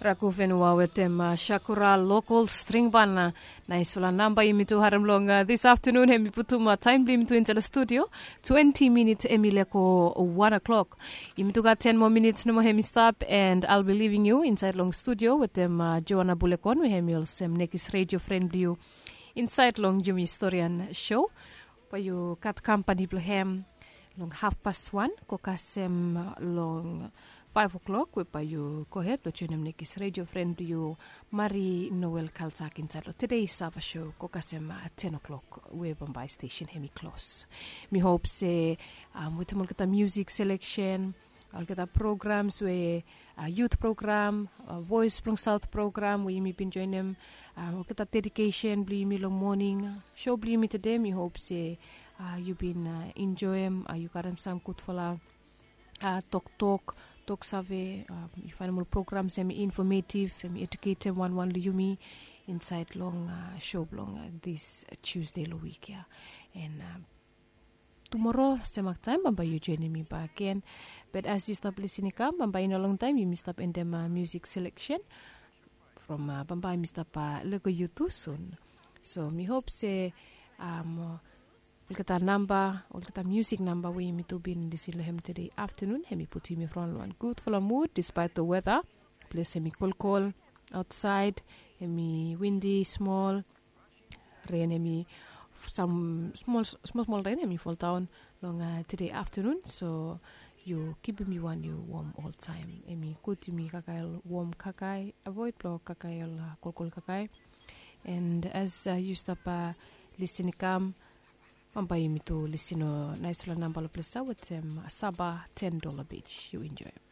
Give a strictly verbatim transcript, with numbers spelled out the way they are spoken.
Raku fenua wetem shakura lokol string ban. Naisfala namba yumi tu harem long dis aftanun, hem i putum taem blong yumi tu insaed long studio. Twenti minits hem i leko wan o'klok. Yumi tu gat ten moa minits nomo hem i stap, and I'll be leaving you insaed long studio wetem Joana Bulekon, we hem i olsem nekis redio fren blong yu insaed long yumi storian show. Bae yu gat kampani blong hem long hafpas wan go kasem long faef o'klok, we bae yu gohed blong joenem nekis redio fren blong yu, Mari Noel Kaltak, insaed long Todei Sava show go kasem ten o'klok, we bambae stesen hem i klos. Mi hop se wetem olgeta musik seleksen, olgeta programs we yut program, Voes blong Saot program we yumi bin joenem, olgeta dedikesen blong yumi long moning show blong yumi tede, mi hop se yu bin enjoem, yu karem sam gudfala toktok, tok save. Yu faenem ol programs hem i infometiv, hem i ejuketem wanwan long yumi insaed long show blong dis Tusde long wik ya. And tumoro semak taem bambae yu joenem mi bakegen. But as yu stap lisin i kam, bambae i no longtaem yumi stap endem musik seleksen from bambae mi stap lego yu tu sun. So mi hop se olgeta namba, olgeta musik namba we yumi tu bin lisin long hem tede aftanun, hem i putum yumi from long wan gudfala mud dispaet long weta. Ples hem i kolkol aotsaed, hem i windi smol, ren hem i, sam smol smol ren hem i foldaon long tede aftanun. So yu kipim yu wan yu wom oltaem. Hem i gud yumi kakae ol wom kakae, avoed blong kakae ol kolkol kakae. And as yu stap lisin i kam, bambae yumi tu lisin long naesfala namba long ples ya wetem Saba, Ten Dollar Beach. Yu enjoem.